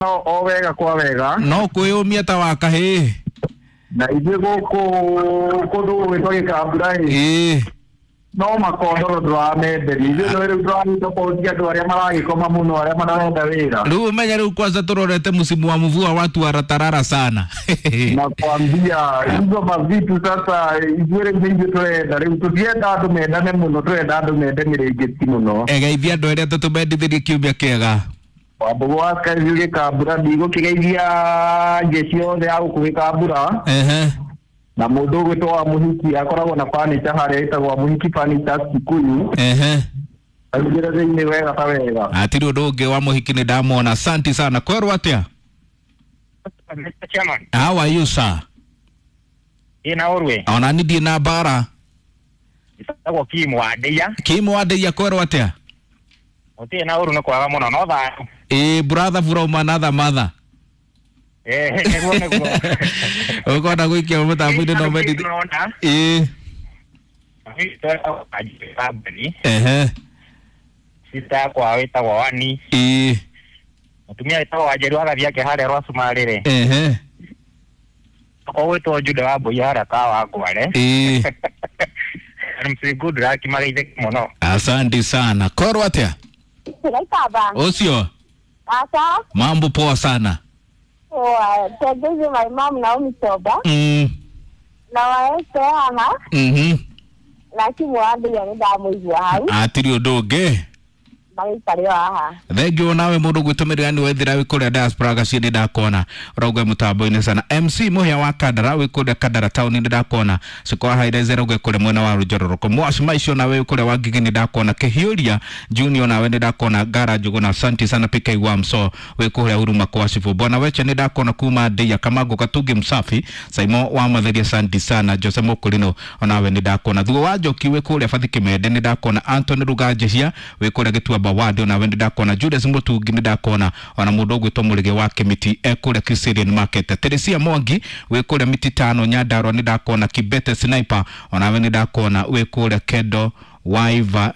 No o wega kwa wega. No kwĩyũmia ta wa kahĩĩ. Na ithuĩ gũkũ kũndũ gũgwĩtwo Gĩkambura ĩ. Ĩĩ. No makondoro ndũramenderia. Ithuĩ no rĩu tũragĩtobauti andũ arĩa maragĩkoma mũno arĩa marenda wĩra. Rĩu ũmenye rĩu kwanza tũrorete msimu wa mvua watu waratarara sana. Nakwambia hizo mavitu sasa ithuĩ rĩu nĩ ithuĩ tũrenda rĩu tũtienda andũ mendane mũno tũrenda andũ mende mĩrĩngĩti mũno. Egeithia andũ arĩa tũtũmendithirie kiumia kĩega. Wambũgũ wa Skyview Gĩkambura ndigũkĩgeithia njeci yothe ya gũkũ Gĩkambura. Ehe. Na mũndũ ũgwĩtwo wa Mũhiki akoragwo na furniture harĩa ĩtagwo wa Mũhiki Furniture Kikuyu. Ehe. Aingĩre thĩinĩ wega ta wega. Hatirĩ ũndũ ũngĩ wa mũhiki nĩ ndamwona. Asanti sana. Kwerwo atĩa? Mr. Chairman, How are you sir? ina urwe Ona ni ndiĩ na mbara. itagwo Kim wa Ndeia. Kim wa Ndeia kwerwo atĩa? Gũtirĩ na ũru nĩ kwaga mũno no thayũ. Ĩĩ brother from another mother. Eh, nĩguo nĩguo. Ũkona gũikia mũtambo-inĩ no mendithie. Nona. Ĩĩ. Kambuni. Ehe. Sister yakwa wĩtagwo Wani. Ĩĩ. Mũtumia wĩtagwo Wanjeru agathiĩ ake harĩa rwa Cumarĩ rĩ. Ehe. Okorwo gwĩtwo Juda wa Mbũi harĩa Kawangware. Ĩĩ. MC Good Luck mageithĩke mũno. Asante sana. Kwerwo atĩa? Kaba. Ũcio Asa. mambo poa sana. Poa. Tegezi my mom Naomi Toba. Na waese haha. Na kimwambia nĩ ndamũigua hau. Hatirĩ ũndũ ũngĩ. Magĩikare o haha. Thengiũ nawe mũndũ gwĩtũmĩrĩra nĩ wethira wĩ kũrĩa diaspora gaciĩ nĩ ndakona ũrauga mũtambo-inĩ sana. MC Mũhĩa wa Kandara wĩ kũrĩa Kandara town nĩ ndakona. Ciko wa Haireze ũrauga kũrĩa mwena wa Rũnjororoko. Mwaci Maicio nawe wĩ kũrĩa wa Ngigĩ nĩ ndakona. Kĩhiũria Junior nawe nĩ ndakona. Ngara Njũgũna asante sana PK wa Mso wĩ kũrĩa Huruma kwa Cibũ. Bwana Weche nĩ ndakona kuma Ndeia Kamango Katungi Msafi. Saimo wa Matheria asante sana. Jose Mũkũrinũ onawe nĩ ndakona. Thuo wa Njoki wĩ kũrĩa Bathi Kĩmende nĩ ndakona. Anthony Ruganjehia wĩ kũrĩa Gĩtuamba Ward onawe nĩ ndakona. Julius Mũtungi nĩ ndakona. Ona mũndũ ũgwĩtwo Mũrĩge wa Kĩmiti e kũrĩa Kiserian Market. Teresia Mwangi wĩ kũrĩa Mititano Nyandarua nĩ ndakona. Kibete Sniper onawe nĩ ndakona wĩ kũrĩa Kendo Waiva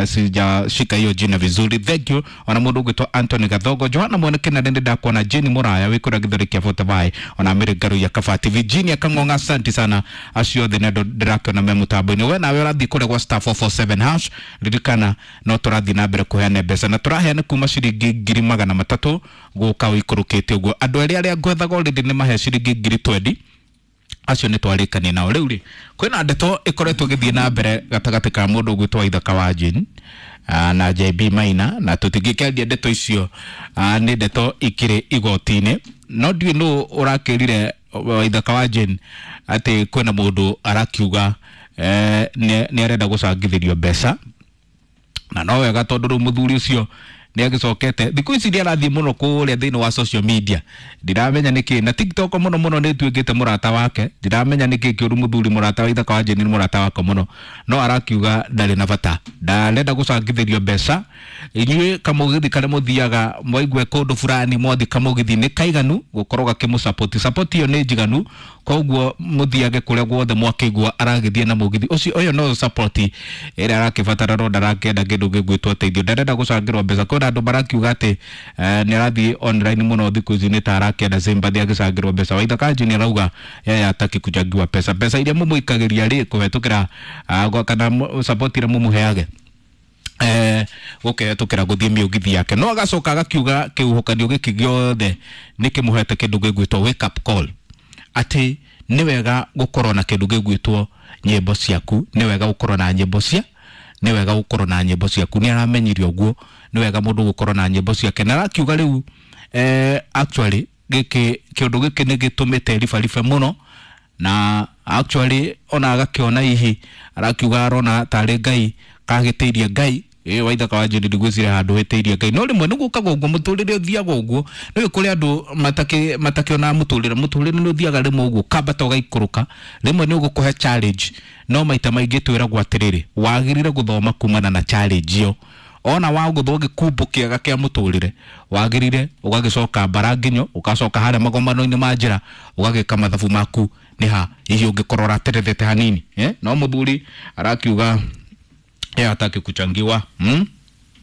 sijashika hiyo jina vizuri, thank you. Ona mũndũ ũgwĩtwo Anthony Gathogo, Johanna Mwene Kennedy nĩ ndakona, Jane Muraya wĩ kũrĩa Gĩthũri kĩa Forty ona Mary Ngaru ya Kabati, Virginia Kang'ong'a, asante sana acio othe nĩ andũ ndĩrakĩona me mũtambo-inĩ. We nawe ũrathiĩ kũrĩa gwa star 447 hash, ririkana no tũrathiĩ na mbere kũheana mbeca na tũraheana kuma ciringi 300,000 gũka ũikũrũkĩte ũguo. Andũ erĩ arĩa ngwethaga already nĩ mahe ciringi 20,000 acio nĩ twarĩkania nao. Rĩu rĩ kwĩna ndeto ĩkoretwo ĩgĩthiĩ na mbere gatagatĩ ka mũndũ ũgwĩtwo Waithaka wa Jane na JB Maina, na tũtingĩkĩaria ndeto icio nĩ ndeto ikĩrĩ igoti-inĩ, no ndiũĩ nũ ũrakĩrire Waithaka wa Jane atĩ kwĩna mũndũ arakiuga nĩ arenda gũcangithĩrio mbeca, na no wega tondũ rĩu mũthuri ũcio nĩ agĩcokete thikũ ici nĩ arathiĩ mũno kũrĩa thĩinĩ wa social media, ndiramenya nĩkĩ na TikTok mũno mũno nĩ ĩtuĩkĩte mũrata wake, ndiramenya nĩkĩ kĩũru mũthuri mũrata wa Waithaka wa Jane nĩ mũrata wake mũno, no arakiuga ndarĩ na bata, ndarenda gũcangithĩrio mbeca. Inyuĩ kamũgithi karĩa mũthiaga mwaigue kũndũ fulani mwathiĩ kamũgithi nĩ kaiganu gũkorwo gakĩmũ support ĩyo nĩ njiganu, koguo mũthiage kũrĩa guothe mwakĩigua aragĩthiĩ na mũgithi ũcio. Ũyũ no support ĩrĩa arakĩbatara no ndarakĩenda kĩndũ gĩgwĩtwo teithio, ndarenda gũcangĩrwo mbeca. Kwĩna andũ marakiuga atĩ nĩ arathiĩ online mũno thikũ ici nĩ ta arakĩenda sympathy agĩcangĩrwo mbeca. Waithaka Jane arauga yeye hataki kuchangiwa pesa, mbeca iria mũmũikagĩria rĩ kũhetũkĩra kana support ĩrĩa mũmũheage gũkĩhetũkĩra gũthiĩ mĩũgithi yake. No agacoka agakiuga kĩhuhũkanio gĩkĩ gĩothe nĩ kĩmũhete kĩndũ gĩgwĩtwo wake up call, atĩ nĩ wega gũkorwo na kĩndũ gĩgwĩtwo nyĩmbo ciaku, nĩ wega gũkorwo na nyĩmbo cia nĩ wega gũkorwo na nyĩmbo ciaku. Nĩ aramenyire ũguo nĩ wega mũndũ gũkorwo na nyĩmbo ciake, na arakiuga rĩu actually gĩkĩ kĩũndũ gĩkĩ nĩ gĩtũmĩte ribaribe mũno, na actually ona agakĩona hihi arakiuga arona tarĩ Ngai kagĩtĩirie Ngai. Ĩ Waithaka wa Jane ndigwĩciria handũ hĩtĩirie Ngai, no rĩmwe nĩ gũkaga ũguo mũtũrĩre ũthiaga ũguo. Nĩũĩ kũrĩ andũ matakĩonaga mũtũrĩre, mũtũrĩre nĩ ũthiaga rĩmwe ũguo ũkambata ũgaikũrũka, rĩmwe nĩ ũgũkũhe challenge, no maita maingĩ twĩragwo atĩrĩrĩ wagĩrĩire gũthoma kumana na challenge ĩyo. Ona wagũthwo gĩkumbo kĩega kĩa mũtũrĩre wagĩrĩire ũgagĩcoka mbara nginyo, ũgacoka harĩa magomano-inĩ ma njĩra ũgagĩka mathabu maku nĩ ha hihi ũngĩkorwo ũraterethete hanini. No mũthuri arakiuga yeye hataki kuchangiwa.